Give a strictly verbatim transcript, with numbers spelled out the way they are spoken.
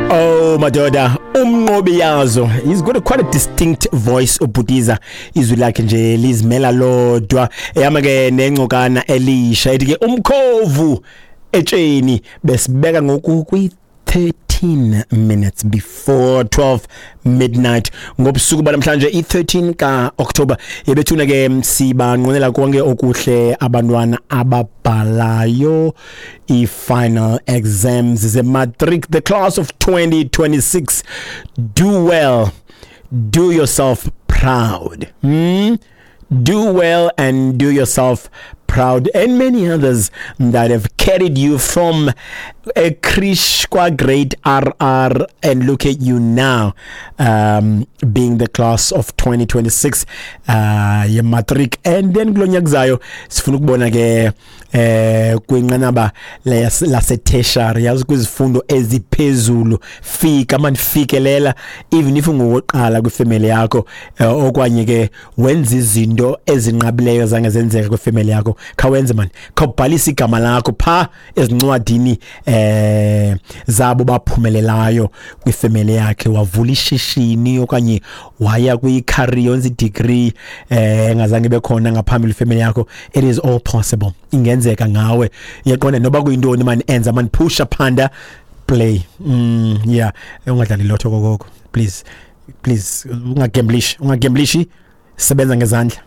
Oh madoda, umnqobi yazo. He's got a quite a distinct voice ubhutiza, izwi lakhe nje lizimela lodwa. Eyama ke nengcokana elisha ethi ke umkhovu etsheni besibeka ngoku kwi thirteen minutes before twelve midnight ngobusuku banamhlanje, i-thirteen ka-October. Yebethuna ke, sibanqwenela konke okuhle abantwana ababhalayo i-final exams ze-matric, the class of twenty twenty-six. Do well, do yourself proud, hmm? Do well and do yourself proud, and many others that have carried you from a creche kwa grade R R, and look at you now, um, being the class of twenty twenty-six uh ye matric. And then kulonyaka kuzayo sifuna ukubona ke eh kwinqanaba lase tertiary, yazi, kwizifundo eziphezulu. Fika man, fikelela, even if ungowokuqala kwifamily yakho, eh, okanye ke wenza izinto ezinqabileyo zange zenzeka kwifamily yakho. Khawenze man, khawubhalisa igama lakho pha ezincwadini eh zabo baphumelelayo kwifamily yakhe, wavula ishishini okanye waya kwi-career, wenza i-degree eh engazange bekhona ngaphambili family yakho. It is all possible, ingenzeka ngawe, uyaqonda? Noba kuyintoni man, enza man, pusha, phanda, play. mm yeah ungadlali lotho kokoko, please, please, ungagamblisha, ungagamblishi, sebenza ngezandla.